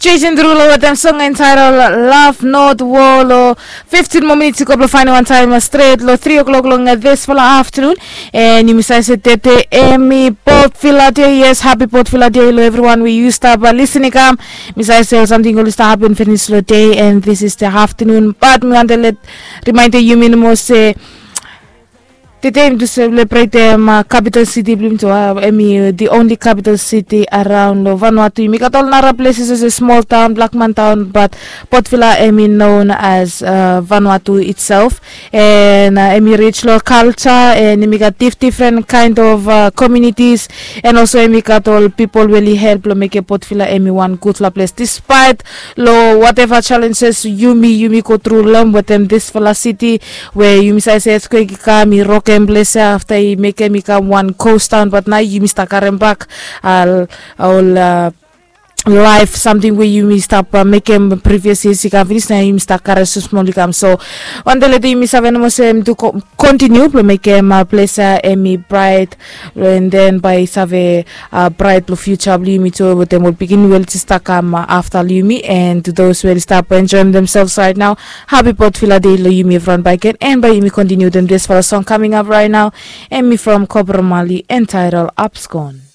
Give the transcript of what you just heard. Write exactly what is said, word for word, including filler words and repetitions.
Jason Derulo wetem song entitled Love Not War. Lo fifteen moa minits i go blong faenem wan taem stret lo three o'clock long disfala afternoon. And yumi save se tete emi Port Vila Day. Yes, happy Port Vila Day lo evriwan we yu stap listening kam. Mi save se ol samting oli stap hapen finis lo day and this is the afternoon, but mi wante let remind yumi nomo se tete yumi tu selebretem kapital siti blong yumi tu, emi the only capital city around lo Vanuatu. Yumi gat ol nara places as a small town, Blackman town, but Port Vila emi known as Vanuatu itself. And emi rich lo culture and emi gat dif different kind of communities. And also emi gat ol pipol we oli help lo mekem Port Vila emi wan gudfala ples despite lo whatever challenges yumi yumi go tru long wetem disfala city, we yumi save se earthquake i kam i rokem ples ya afta i mekem i kam wan ghost town, but nao yumi stap karem bak ol laef samting we yumi stap mekem previous years i kam finis, nao yumi stap karem smosmol i kam. So wante leta yumi save nomo se yumi tu kontiniu blong mekem ples ya emi bright, and then bae i save bright blong future blong yumi tu wetem ol pikinini we oli jes stap kam afta long yumi. And to those we oli stap enjoem themselves right now, happy Port Vila Day long yumi evriwan bakegen, and bae yumi kontiniu wetem disfala song coming up right now. Emi from Cobra Marley entitled Abscond.